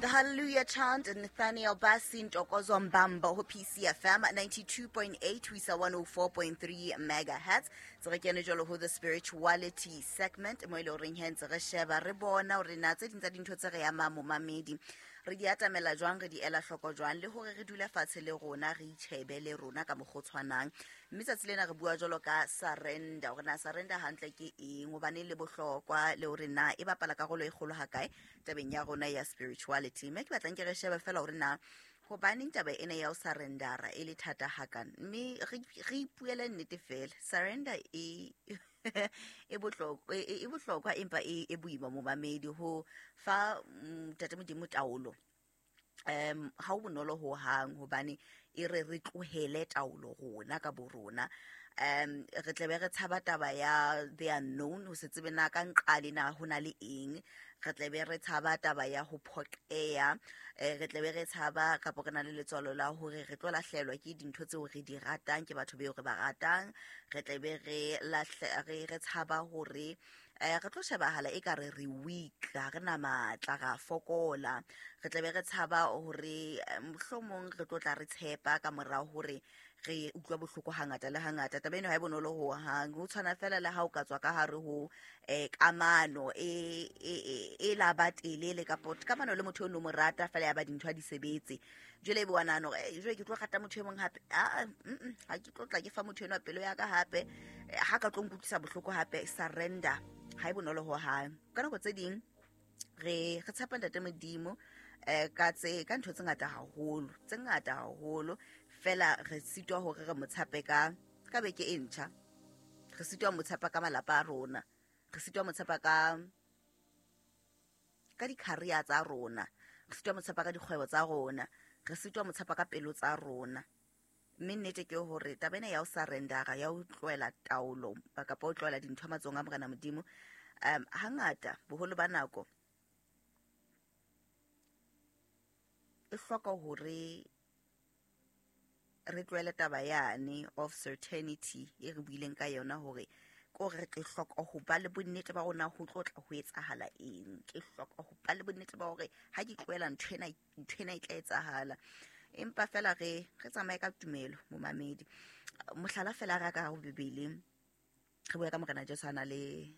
The Hallelujah Chant, Nathaniel Bassey, Ntokozo Mbambo ho PCFM 92.8 ho isa 104.3 megahertz. Tse re kene jwalo ho the spirituality segment mo e le horeng he ntse re sheba re bona hore na tse ding tsa dintho tse re amang momamedi re di atamela jwang, re di ela hloko jwang, le hore re dule fatshe le rona re itjhebe le rona ka mokgwa o tshwanang. Mme tsatsi lena re bua jwalo ka surrender, hore na surrender hantle ke eng, hobane le bohlokwa, le hore na e bapala karolo e kgolo hakae tabeng ya rona ya spirituality. Mme ke batlang ke re shebe fela hore na hobaneng taba ena ya ho surrendera e le thata hakana, mme re ipuele nnete fela, surrender e e bohlokwa, e bohlokwa empa e boima momamedi ho fa ntate Modimo taolo. Ha o bonolo ho hang, hobane e re re tlohele taolo rona ka bo rona. Re tlebe re tshaba taba ya the unknown, ho se tsebe na ka nqale na ho na le eng. Re tlebe re tshaba taba ya ho phoqeha, re tlebe re tshaba kapo re na le letswalo la hore re tlo lahlehelwa ke dintho tseo re di ratang, ke batho beo re ba ratang. Re tlebe re re tshaba hore re tlo shebahala e ka re re weak, ha re na matla, ra fokola. Re tlebe re tshaba hore mohlomong re tlo tla re tshepa ka mora hore re utlwa bohloko hangata le hangata. Taba eno ha e bonolo ho hang, ho tshwana fela le ha o ka tswa ka hare ho kamano e la ba telele, kapo kamano le motho o no mo rata fela ya ba dintho ha di sebetse. Jwale ebe wa nahana hore jwale ke tlo rata motho e mong hape, ha ke tlo tla ke fa motho enwa pelo ya ka hape, ha ka tlo nkutlwisa bohloko hape. Surrender ha e bonolo ho hang. Ka nako tse ding re tshepa ntate Modimo ka tse ka ntho tse ngata haholo, tse ngata haholo fela re sitwa hore re mo tshepe ka beke e ntjha, re sitwa mo tshepa ka malapa a rona, re sitwa mo tshepa ka di-career tsa rona, re sitwa mo tshepa ka dikgwebo tsa rona, re sitwa mo tshepa ka pelo tsa rona. Mme nnete ke hore taba ena ya ho surrendera, ya ho tlohela taolo kapa ho tlohela dintho matsohong a Morena Modimo, hangata boholo ba nako e hloka hore re tlohele taba yane of certainty e re buileng ka yona, hore ke hore re hloka ho ba le bonnete ba rona ho tlo tla ho etsahala eng. Ke hloka ho ba le bonnete ba hore ha ke tlohela ntho ena, ntho ena e tla etsahala. Empa fela re tsamaye ka tumelo momamedi. Mohlala fela re ka ho Bibele, re bua ka Morena Jesu a na le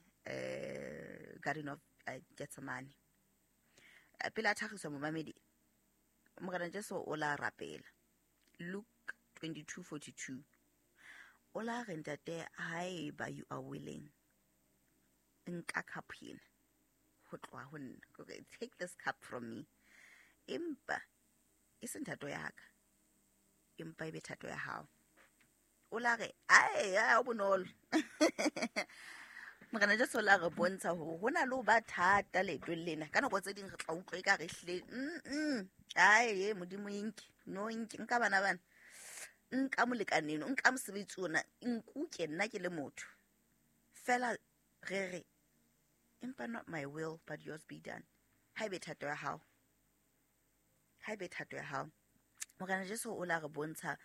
Garden of Gethsemane. Pele a thakgiswa momamedi, Morena Jesu o la rapela. Luke 22:42. O la re, ntate, haeba you are willing, nka cup ena ho tloha ho nna. Take this cup from me. Empa e seng thato ya ka, empa e be thato ya hao. O la re, ai, ha bonolo. Morena Jesu o la re bontsha hore ho na le ho ba thata leetong lena. Ka nako tse ding re tla utlwa eka re hlile, ai, Modimo inke, no inke, nka bana bana, nka molekane eno, nka mosebetsi ona, nkuke nna ke le motho. Fela re re, empa not my will but yours be done. Ha ebe thato ya hao, ha ebe thato ya hao. Morena Jesu o la re bontsha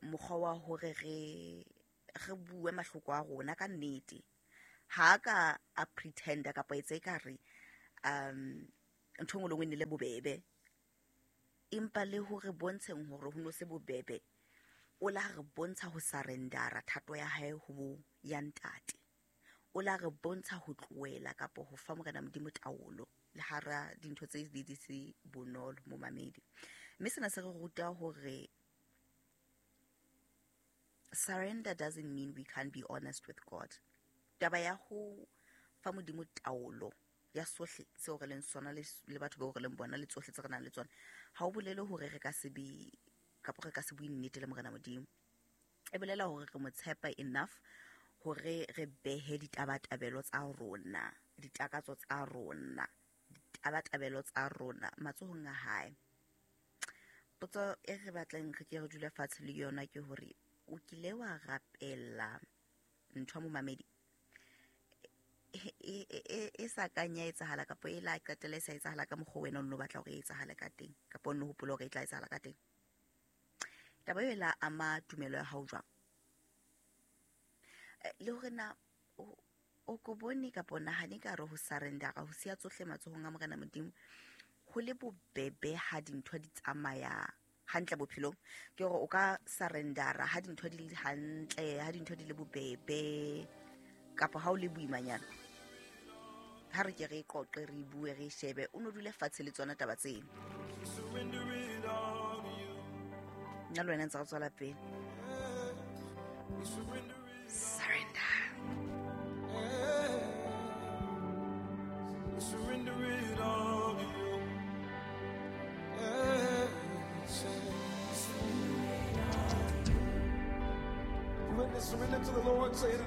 mokgwa wa hore re bue mahloko a rona ka nnete. Ha ka a pretender kapa etse ka re ntho engwe le engwe e ne le bobebe, empa le hore bontsheng hore ho no se bobebe, o la re bontsha ho surrendera thato ya hae ho ya ntate. O la re bontsha ho tlohela kapa ho fa Morena Modimo taolo le hara dintho tse di se bonolo momamedi. Mme sena se re ruta hore surrender doesn't mean we can't be honest with God. Taba ya ho fa Modimo taolo ya sohle seo re leng sona le batho bao re leng bona le tsohle tse re nang le tsona, ha o bolele hore re ka se be kapa re ka se bue nnete le Morena Modimo. E bolela hore re mo tshepa enough hore re behe ditabatabelo tsa rona, ditakatso tsa rona, ditabatabelo tsa rona matsohong a hae. Potso e re batlang re ke re dule fatshe le yona ke hore o kile wa rapella ntho momamedi e sa kang ya etsahala kapa e la qetela e sa etsahala ka mokgwa wena o nno batla hore e etsahale ka teng, kapa o nno hopola hore e tla etsahala ka teng. Taba eo e la ama tumelo ya hao jwang? Le hore na o ko bone kapa o nahane ka re ho surrendera, ho siya tsohle matsohong a Morena Modimo, ho le bobebe ha dintho di tsamaya hantle bophelong? Ke hore o ka surrendera ha dintho di le hantle, ha dintho di le bobebe, kapa ha o le boimanyana? Ha re ke re qoqe, re bue, re shebe, o no dule fatshe le tsona taba tseno. Nna le wena ntse re tswela pele. Surrender. Surrender it all to you. Surrender to the Lord. Say it.